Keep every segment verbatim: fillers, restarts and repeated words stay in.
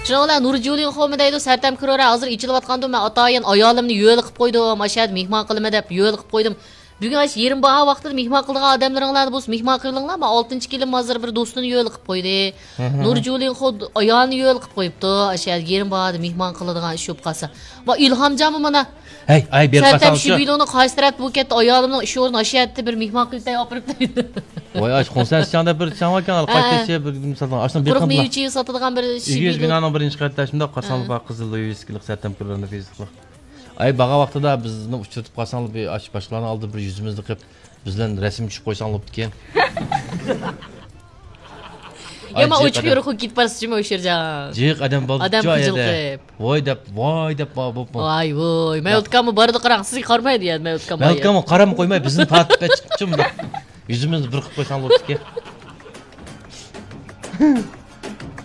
شۇنىڭ بىلەن نۇرجۇلىن خومى دەيدۇ، سەرتەم كىرورا ھازىر ئېچىلىۋاتقاندۇ، مەن ئاتايىن ئايالىمنى يۆلىقىپ قويدۇم، ئاشۇ يەردە مېھمان قىلىمەن دەپ يۆلىقىپ قويدۇم. بۈگۈن ئاشۇ يېرىم باھا ۋاقتىدا مېھمان قىلىدىغان ئادەملىرىڭلارنى بولسا مېھمان قىلىۋېلىڭلار، مەن ئالتىنچى كېلىنىم ھازىر بىر دوستىنى يۆلىقىپ قويدى. نۇرجۇلىن خو ئايالىنى يۆلىقىپ قويۇپتۇ، ئاشۇ يەردە يېرىم باھادا مېھمان قىلىدىغان ئىش بولۇپ قالسا. ۋە ئىلھامجانمۇ مانا ھەي، ئاي، بېرىپ سەرتەم قالساڭ شۇ شىبىلونى قايسى تەرەپتە بۇ كەتتى، ئايالىمنىڭ ئىش ئورنى ئاشۇ يەردە بىر مېھمان قىلىپ ئاپىرىپ دەيدۇ. ۋاي، ئاش، خۇڭسەن سىچاڭدا بىر چاڭ باركەن، ھە، قايتىشى بىر مىسالدىن ئاشۇنى بېرىپ قويۇپ قىلىڭ. مېۋە چېيى ساتىدىغان بىر ئېگىز شىبىلو. بىنانىڭ بىرىنچى قەۋىتىدە شۇنداق قارىساڭلار، ھە، بار قىزىل ۋىۋىسكىلىق سەرتەم كىرورنى فېيسبۇكلۇق. ئاي، بارغان ۋاقتىدا بىزنى ئۇچرىتىپ قالساڭلار، بىر ئاش، باشقىلارنىڭ ئالدىدا بىر يۈزىمىزنى قىپ، بىز بىلەن رەسىم چۈشۈپ قويساڭلار بوپتىكەن. يامان ئوچۇق يورۇق كېتىپ بارسىز جۇمۇ ئوشۇرجان. جىق ئادەم بولدى ئادەم جۇ ئايەدە. قىجىلقىپ. ۋاي دەپ، ۋاي دەپ بار بوپمۇ؟ ۋاي ۋاي. مەۋلۇت ئاكاممۇ بارىدۇ قاراڭ، سىزگە قارىمايدۇ يا مەۋلۇت ئاكام. مەۋلۇت ئاكاممۇ قاراممۇ قويماي، بىزنى تارتىپ چىقىپچۇ مۇنداق. يۈزىمىزنى بىر قىلىپ قويساڭلار بوپتىكەن.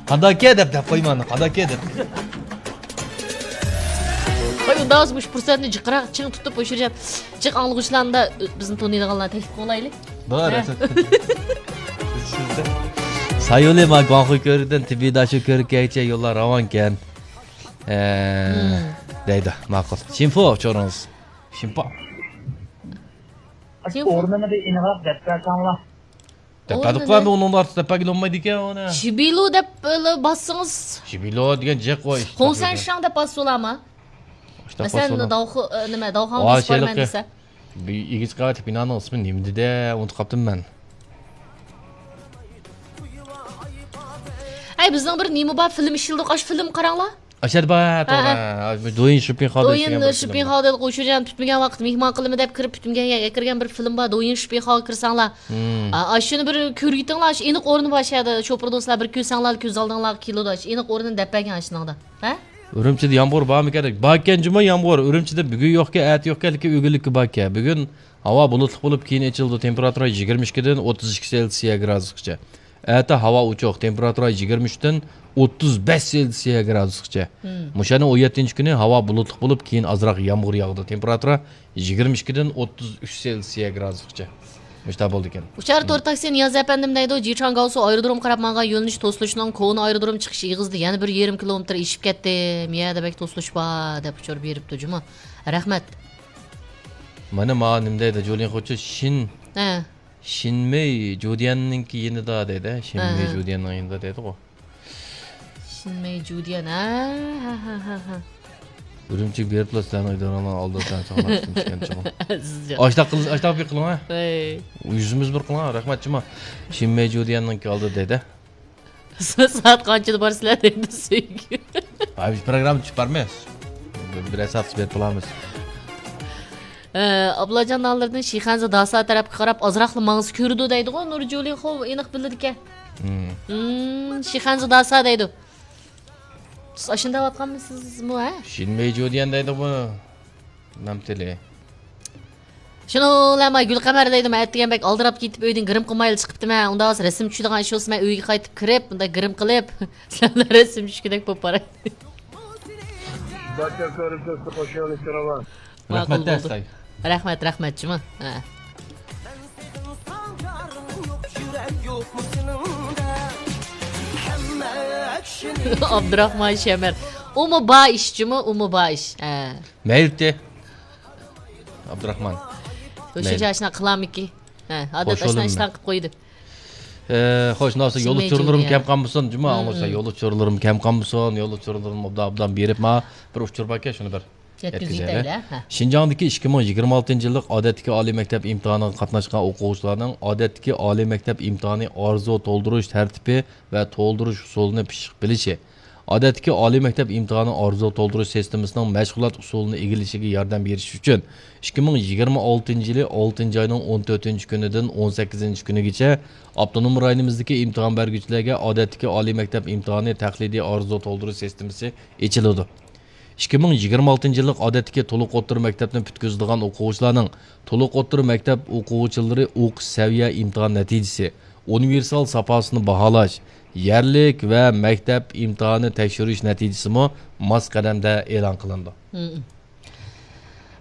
قانداكى دەپ، دەپ قويما، قانداكى دەپ. ۋاي ئۇنداق بولسا مۇشۇ پۇرسەتنى جىقراق چىڭ تۇتۇپ ئوشۇرجان. جىق ئاڭلىغۇچىلارنى، بىزنى تونۇيدىغانلارنى تەكلىپ قىلايلى. بار، ھە. سايولى ما گۇاڭخۇي كۆۋرۈكىدىن تىبىدا شۇ كۆۋرۈككە يوللار راۋانكەن. ئە، دەيدۇ، ماقۇل. شىنفۇ ئۇچۇرىڭىز. شىنپۇ. شىنفۇ. ئورنىنى بىر ئېنىقراق دەپ بەرسەڭلار. دەپ بەردۇقلا، ئۇنىڭدىن ئارتۇق دەپ بەرگىلى بولمايدىكەن ئۇنى. شىبىلو دەپ، ئە، باسسىڭىز. شىبىلو دېگەن جىق ئۇ ئىش. خۇڭسەن شاڭ دەپ باسسا بولامۇ؟ مەسىلەن، داۋخۇ-، ئە، نېمە، داۋخاڭ باسىپ بارىمەن دېسە. ئىگىچ قەۋەتلىك بىنانىڭ ئىسمى نېمىدى دە؟ ئۇنتۇپ قاپتىمەن مەن. ئەي، بىزنىڭ بىر نېمە بار، فىلىم ئىشلىدۇق، ئاشۇ فىلىم قاراڭلار. ئاشەدە بار، ھە، توغرا. ھە. دويىن شىپىنخاۋ دويىن شىپىنخاۋ دېدۇق، ئوشۇرجان پۈتمىگەن ۋاقىت مېھمان قىلىمەن دەپ كىرىپ، پۈتمىگەن يەرگە كىرگەن بىر فىلىم بار، دويىن شىپىنخاۋغا كىرسەڭلار. ئا، ئاشۇنى بىر كۆرۈۋېتىڭلار، ئاشۇ ئېنىق ئورنى بار، شۇ يەردە شوپۇر دوستلار بىر كۆرسەڭلار، كۆز ئالدىڭلارغا كېلىدۇ، ئاشۇ ئېنىق ئورنىنى دەپ بەرگىن ئاشۇنىڭدا. ھە؟ ئۈرۈمچىدە يامغۇر بارمىكەن؟ باركەن جۇمۇ يامغۇر. ئۈرۈمچىدە بۈگۈن يوقكەن، ئەتە يوقكەن، لېكىن ئۆگۈنلۈككە باركەن. بۈگۈن ھاۋا بۇلۇتلۇق بولۇپ، كېيىن ئېچىلىدۇ. تېمپېراتۇرا يىگىرمە ئىككىدىن ئوتتۇز ئىككى سېلسىيە گرادۇسقىچە. ئەتە ھاۋا ئوچۇق، تېمپېراتۇرا يىگىرمە ئۈچتىن ئوتتۇز بەش سېلسىيە گرادۇسقىچە. مم. مۇشۇ ئاينىڭ ئون يەتتىنچى كۈنى ھاۋا بۇلۇتلۇق بولۇپ، كېيىن ئازراق يامغۇر ياغىدۇ. تېمپېراتۇرا يىگىرمە ئىككىدىن ئوتتۇز ئۈچ سېلسىيە گرادۇسقىچە. مۇشۇنداق بولىدىكەن. ئۇچار تور تاكسى نىياز ئەپەندىم دەيدۇ، جىچاڭگاۋسۇ ئايرودروم قاراپ ماڭغان يۆنىلىش توسۇلۇشنىڭ كونا ئايرودروم چىقىش ئېغىزىدا يەنە بىر يېرىم كىلومېتىر ئېشىپ كەتتىم. يەنە بەك توسۇلۇش بار، دەپ ئۇچۇر بېرىپتۇ جۇمۇ. رەھمەت. مانا ماڭا نېمە دەيدۇ، جۇلىن خوچۇ شىن. ھە. شىنمېي جۇديەننىڭكى يېنىدا دەيدۇ، ھە. شىنمېي ھە، ھە. جۇديەننىڭ يېنىدا دەيدىغۇ. شىنمېي جۇديەن، ھە، ھە، ھە، ھە. ئۈرۈمچىگە بېرىپلا سىلەرنىڭ ئىدارىڭلارنىڭ ئالدىدا سەن ساڭلاشتىم چىققان چىغىم. ئەزىزجان. ئاشتاق قىل-، ئاشتاق بىر قىلىڭ، ھە. ھەي. يۈزىمىز بىر قىلىڭ، ھە. رەھمەت جۇما. شىنمېي جۇديەننىڭكى ئالدىدا دەيدۇ. سائەت قانچىدا بارىسىلەر دەيدۇ سۆيگۈ. ھە، بىز پروگرامما چۈشۈپ بارمىز. بىر، بىر سائەت بېرىپ بولامىز. ئە، ئابلاجان نانلىرىدىن شىخەنزە داسا تەرەپكە قاراپ ئازراقلا ماڭسا كۆرىدۇ دەيدىغۇ، نۇرجۇلى خو ئېنىق بىلىدىكەن. مم. مم، شىخەنزە داسا دەيدۇ. سىز ئاشۇنداق دەۋاتقانمىسىزمۇ، ھە؟ شىنمېي جۇديەن دەيدىغۇ. نامتىلى. شۇنىڭ بىلەن مانا گۈلقەمەر دەيدۇ، مەن ئەتىگەن بەك ئالدىراپ كېتىپ ئۆيدىن گىرىم قىلمايلا چىقىپتىمەن. ئۇنداق بولسا رەسىم چۈشىدىغان ئىش بولسا مەن ئۆيگە قايتىپ كىرىپ، بۇنداق گىرىم قىلىپ، سىلەر بىلەن رەسىم چۈشكۈدەك بولۇپ باراي. بارچە كۆرۈپ تۇرسا قوشۇۋېلىش تۇرۇۋال. ماقۇل رەھمەت، بولدى. ئەستاي. رەھمەت، رەھمەت جۇما. ھە. ئابدۇراخمان شەمەر. ئۇمۇ بار ئىش جۇما، ئۇمۇ بار ئىش. ھە. مەيلىتى. ئابدۇراخمان. شۇنچە ئاشنا قىلامىكى؟ ھە، ئادەت ئاشنا ئىشلارنى قىلىپ قويىدۇ. ئە، خوش، ناۋسا يول ئۇچۇرلىرىم كەم قالمىسۇن، جۇما، ئاڭلىسا، يول ئۇچۇرلىرىم كەم قالمىسۇن، يول ئۇچۇرلىرىم ئوبدان، ئوبدان بېرىپ، ما بىر ئۇچۇر باركەن، شۇنى بىر يەتكۈزۈۋېتەيلى، ھە. شىنجاڭدىكى ئىككى مىڭ يىگىرمە ئالتىنچى يىللىق ئادەتتىكى ئالىي مەكتەپ ئىمتىھانىغا قاتناشقان ئوقۇغۇچىلارنىڭ ئادەتتىكى ئالىي مەكتەپ ئىمتىھانى ئارزۇ تولدۇرۇش تەرتىپى ۋە تولدۇرۇش ئۇسۇلىنى پىششىق بىلىشى، ئادەتتىكى ئالىي مەكتەپ ئىمتىھانى ئارزۇ تولدۇرۇش سىستېمىسىنىڭ مەشغۇلات ئۇسۇلىنى ئىگىلىشىگە ياردەم بېرىش ئۈچۈن، ئىككى مىڭ يىگىرمە ئالتىنچى يىلى ئالتىنچى ئاينىڭ ئون تۆتىنچى كۈنىدىن ئون سەككىزىنچى كۈنىگىچە ئاپتونوم رايونىمىزدىكى ئىمتىھان بەرگۈچىلەرگە ئادەتتىكى ئالىي مەكتەپ ئىمتىھانى تەقلىدىي ئارزۇ تولدۇرۇش سىستېمىسى ئېچىلىدۇ. ئىككى مىڭ يىگىرمە ئالتىنچى يىللىق ئادەتتىكى تولۇق ئوتتۇرا مەكتەپنى پۈتكۈزىدىغان ئوقۇغۇچىلارنىڭ تولۇق ئوتتۇرا مەكتەپ ئوقۇغۇچىلىرى ئوقۇش سەۋىيە ئىمتىھان نەتىجىسى، ئۇنىۋېرسال ساپاسىنى باھالاش، يەرلىك ۋە مەكتەپ ئىمتىھانى تەكشۈرۈش نەتىجىسىمۇ ماس قەدەمدە ئېلان قىلىنىدۇ. مم.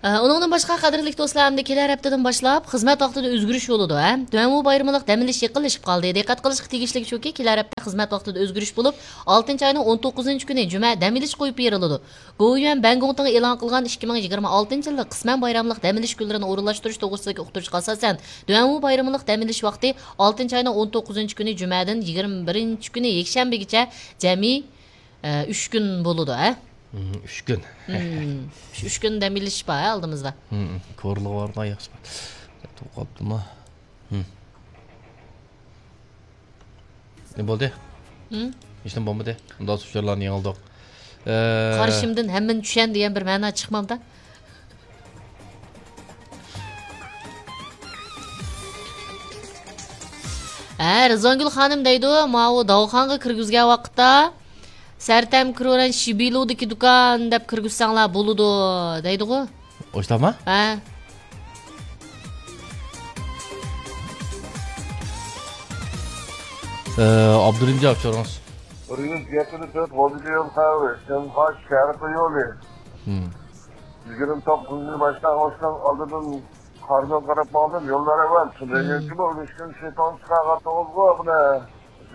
ئۇنىڭدىن باشقا، قەدىرلىك دوستلار، ئەمدى كېلەر ھەپتىدىن باشلاپ خىزمەت ۋاقتىدا ئۆزگىرىش بولىدۇ، ھە؟ دۇەنۋۇ بايرىمىلىق دەم ئېلىش يېقىنلىشىپ قالدى. دىققەت قىلىشقا تېگىشلىك شۇكى، كېلەر ھەپتە خىزمەت ۋاقتىدا ئۆزگىرىش بولۇپ، ئالتىنچى ئاينىڭ ئون توققۇزىنچى كۈنى جۈمە دەم ئېلىش قويۇپ بېرىلىدۇ. گوۋۇيۈەن بەنگوڭتىڭ ئېلان قىلغان ئىككى مىڭ يىگىرمە ئالتىنچى يىللىق قىسمەن بايراملىق دەم ئېلىش كۈنلىرىنى ئورۇنلاشتۇرۇش توغرىسىدىكى ئۇقتۇرۇشقا ئاساسەن، دۇەنۋۇ بايرىمىلىق دەم ئېلىش ۋاقتى ئالتىنچى ئاينىڭ ئون توققۇزىنچى كۈنى جۈمەدىن يىگىرمە بىرىنچى كۈنى يەكشەنبىگىچە جەمئىي، ئە، ئۈچ كۈن بولىدۇ، ھە؟ مم، ئۈچ كۈن. مم. شۇ ئۈچ كۈن دەم ئېلىش بار، ھە، ئالدىمىزدا. مم، كورلىغا بارغان ياخشى بار. توقۇلۇپتىمۇ؟ مم. نېمە بولدى؟ ھىم؟ ھېچنېمە بولمىدى. ئۇنداق ئۇچۇرلارنى يېڭىلدۇق. ئە، قارىشىمدىن ھەممىنى چۈشەن دېگەن بىر مەنا چىقمامدا. ھە، رىزۋانگۈل خانىم دەيدۇ، ماۋۇ داۋخانغا كىرگۈزگەن ۋاقىتتا، سەرتەم كروران شىبىلۇدىكى دۇكان دەپ كىرگۈزسەڭلار بولىدۇ، دەيدىغۇ. ئوشتاما؟ ھە. ئابدۇرېھىمجان ئۇچۇرىڭىز. بىر يۈز يەتتە تۆت ۋالدىگە يول قاۋى، شەنخۇا شەرقىي يولى. مم. يىگىرمە توققۇزىنچى باشلانغۇچنىڭ ئالدىدىن قارىدىن قاراپ ماڭدىم، يوللار ئەۋەل. شۇنداق مم. يەتتىمۇ، ئۈلۈشكۈن شىتون چىقارغان توغرىغۇ، بۇنى.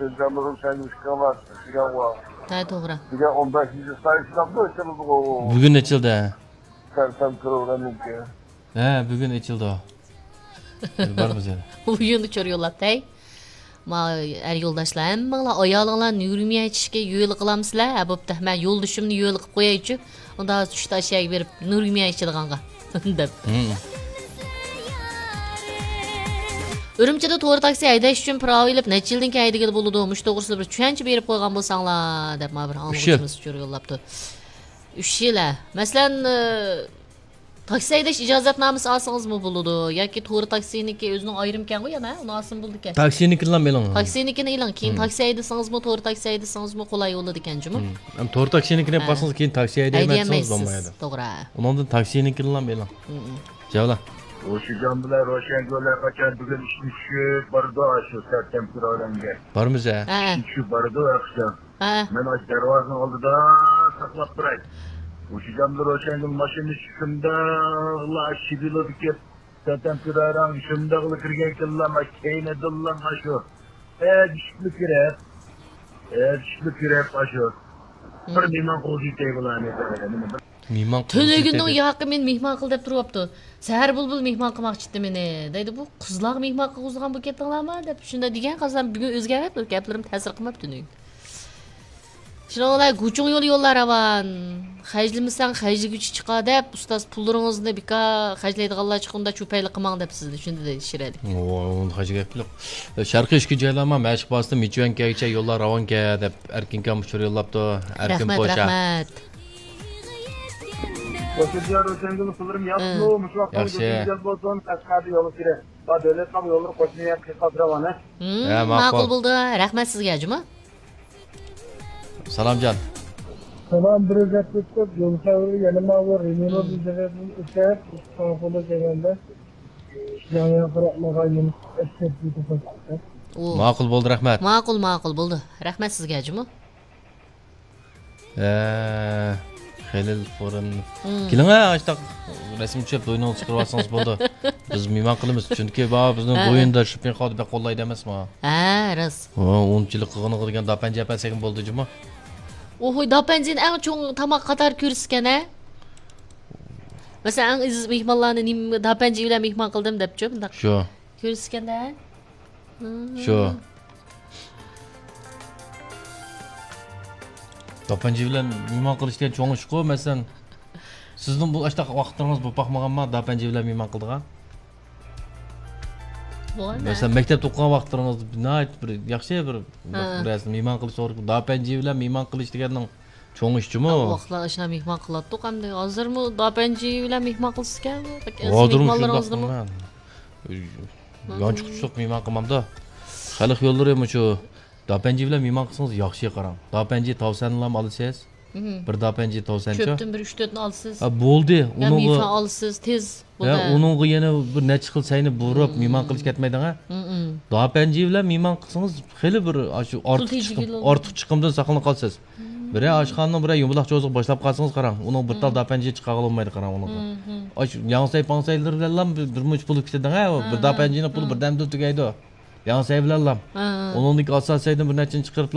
شىنجاڭ بىر سەن ئۈچ كىلومېتىر دېگەن ۋا. ھە، توغرا. دېگەن ئون بەشىنچى سايسىنامدۇ ئېچىلىدىغۇ. بۈگۈن ئېچىلدى. سەرسەم كىرىۋېرەمدىكى. ھە، بۈگۈن ئېچىلدى. بارمىز يەنە. ئۇيۇن ئۇچۇر يوللاپتۇ، ھەي. ما ئەر يولداشلار، ھەممىڭلار ئايالىڭلار نۇرمىيە ئېچىشكە يۆلە قىلامسىلەر؟ ھە، بوپتۇ. مەن يولدىشىمنى يۆلە قىلىپ قويايچۇ. ئۇندا چۈشتە ئاشۇ يەرگە بېرىپ نۇرمىيە ئىچىدىغانغا. دەپ. مم. ئۈرۈمچىدە تور تاكسى ھەيدەش ئۈچۈن پىراۋا ئېلىپ نەچچە يىلدىن كېيىن ھەيدىگىلى بولىدۇ؟ مۇشۇ توغرىسىدا بىر چۈشەنچە بېرىپ قويغان بولساڭلار، دەپ ما بىر ئۈچ يىل. ئاڭلىغۇچىمىز ئۇچۇر يوللاپتۇ. ئۈچ يىل، ھە. مەسىلەن، ئى، تاكسى ھەيدەش ئىجازەتنامىسى ئالسىڭىزمۇ بولىدۇ ياكى تور تاكسىنىكى ئۆزىنىڭ ئايرىمكەنغۇ يەنە، ئۇنى ئالسىمۇ بولىدىكەن. تاكسىنىكىنىلا ئېلىڭ. تاكسىنىكىنى ئېلىڭ، كېيىن مم. تاكسى ھەيدىسىڭىزمۇ، تور تاكسى ھەيدىسىڭىزمۇ قولاي بولىدىكەن جۇمۇ. مم. ئەمما تور تاكسىنىڭكىنى ھە. ئېلىپ قالسىڭىز، كېيىن تاكسى ھەيدەيمەن دېسىڭىز ھەيدىيەلمەيسىز. بولمايدۇ. توغرا. ئۇنىڭدىن تاكسىنىڭكىنىلا ئېلىڭ. مم. جاۋلا. ھوشىجان بىلەن روشەنگۈل ھەرقاچان بۈگۈن ئىشتىن چۈشۈپ بارىدۇ، شۇ سەرتەم كىرارەنگە. بارمىز ھە. ھە. ئىشتىن چۈشۈپ بارىدۇ ھەرقاچان. ھە. مەن ئاشۇ دەرۋازىنىڭ ئالدىدا ساقلاپ تۇراي. ھوشىجان بىلەن روشەنگۈل ماشىنىدا چۈشۈپ شۇنداقلا شىبىلودىكى سەرتەم كىرارەڭ شۇنداقلا كىرگەن كېلىلا، ما كەينىدىنلا شۇ. ئەگىشىپلا كىرىپ، ئەگىشىپلا كىرىپ، ئاشۇ. بىر مېھمان قوغدىيتەي بۇلارنى. مېھمان قىلغۇسى تۈنۈگۈننىڭ كېلىدۇ. ياقى مېنى مېھمان قىل دەپ تۇرۇۋاپتۇ. سەھەر بۇلبۇل مېھمان قىلماقچى ئىدى مېنى. دەيدۇ، بۇ قىزلارغا مېھمان قىلغۇزىدىغان بولۇپ كەتتىڭلارمۇ دەپ شۇنداق دېگەن قىزلار بۈگۈن ئۆزگەرمەپتۇ. گەپلىرىم تەسىر قىلماپتۇ تۈنۈگۈن. شۇنىڭ بىلەن گۇچۇڭ يولى يوللار راۋان. خەجلىمىسەڭ خەجلىگۈچى چىقار دەپ، ئۇستاز پۇللىرىڭىزنى بىكار خەجلەيدىغانلار چىققاندا چۇپايلىق قىلماڭ دەپ سىزنى شۇنداق دېيىش كېرەك. ۋوي، ئۇنىڭدا خەجلىگەن گەپ يوق. شەرقىي ئۈسكۈن جايلارما مەشىق بازىسىدىن مىچۈەنكەگىچە يوللار راۋانكەن دەپ ئەركىنكام ئۇچۇر يوللاپتۇ. ئەركىن رەھمەت، پوشا. رەھمەت. ھوشىجان روشەنگۈل پۇللىرىم ياپسىمۇ؟ مۇشۇ ۋاقىتتا ياخشى. گۈزەل بولسۇن، قەشقەردە يولغا كىرە. ۋە دۆلەت قام يوللىرى قوشنا يەر قىلىپ قاپسىراۋان، ھە؟ ھە، ماقۇل. ماقۇل بولدى. رەھمەت سىزگە، جۇمۇ. سالامجان. سالام، بىر گەپ ئۆتۈپ، يول خەۋىرى يەنە ماۋۇ رېمونت بىزدىن ئۆتۈپ، ئىستانسىدا دېگەندە، ياڭيا قاراپ ماڭغان يول ئەسكەرتىپ كېتىپ قويۇپتۇ. ئۇ. ماقۇل بولدى، رەھمەت. ماقۇل، ماقۇل بولدى. رەھمەت سىزگە، جۇمۇ. ھە، خېلىل فورۇم. كېلىڭە، ئاشتاق رەسىم چۈشۈرۈپ، بوينىڭىزغا چىقىرىۋالسىڭىز بولدى. بىز مېھمان قىلىمىز. چۈنكى بابا بىزنىڭ ھە، ھە. بويۇندا شوپىنغا بەك قوللايدۇ ئەمەسمۇ؟ ھە، راست. ھە، ئۇنچىلىك قىلغىنىغا دېگەن داپەنجى ئەپەسەگە بولدى جۇمۇ. ئوھوي، داپەنجىنى ئەڭ چوڭ تاماق قاتارى كۆرسىكەن ھە؟ مەسىلەن، ئەڭ ئەزىز مېھمانلارنى نېمە داپەنجى بىلەن مېھمان قىلدىم دەپچۇ، مۇنداق. شۇ. كۆرسىكەندە. شۇ. داپەنجى بىلەن مېھمان قىلىش دېگەن چوڭ ئىشقۇ، مەسىلەن، سىزنىڭ بۇ ئاشتاق ۋاقىتلىرىڭىز بولۇپ باقمىغانما، داپەنجى بىلەن مېھمان قىلىدىغان؟ بولغان. مەسىلەن، مەكتەپتە ئوقۇغان ۋاقىتلىرىڭىز ناھايىتى بىر ياخشى بىر، بىر ھە. نەرسە، مېھمان قىلىش توغرا، داپەنجى بىلەن مېھمان قىلىش دېگەننىڭ چوڭ ئىش جۇمۇ. ئۇ ۋاقىتلار ئاشۇنداق مېھمان قىلاتتۇق ئەمدى. ھازىرمۇ داپەنجى بىلەن مېھمان قىلىسىكەن. بەك ئەزىز ھازىرمۇ مېھمانلىرىڭىزنىمۇ. شۇنداقمۇ مەن. يانچۇقچىلىق مېھمان قىلمامدا. خەلق يوللىرى مۇشۇ داپەنجى بىلەن مېھمان قىلسىڭىز ياخشى قاراڭ. داپەنجى تاۋسەنلام ئالىسىز. مم. بىر داپەنجى تاۋسەنچۇ. چۆپتىن بىر ئۈچ تۆتنى ئالىسىز. ھە، بولدى. يا ئۇنىڭغا مېفا ئالىسىز، تېز. ھە، بولدى. ئۇنىڭغا يەنە بىر نەچچە خىل سەينى بۇرۇپ مم. مېھمان قىلىش كەتمەيدىغان. مم. داپەنجى بىلەن مېھمان قىلسىڭىز خېلى بىر ئاشۇ پۇل ئارتۇق چىقىم، تېجىگىلى بولىدۇ. ئارتۇق چىقىمدىن ساقلىنىپ قالىسىز. مم. بىرەر ئاشخانىنىڭ بىرەر يۇمىلاق چوزىغا باشلاپ قالسىڭىز قاراڭ، ئۇنىڭ بىر تال داپەنجى چىقارغىلى بولمايدۇ قاراڭ ئۇنىڭغا. ئاش ياڭسەي پاڭسەيلىرى بىلەنلا بىر، بىر مۇنچە پۇل كېتىدىغۇ، بىر داپەنجىنىڭ پۇلى بىردەمدىلا تۈگەيدۇ. ياڭسەي بىلەنلا. ئۇنىڭدىن كېيىن ئاساسەيدىن بىر نەچچىنى چىقىرىپ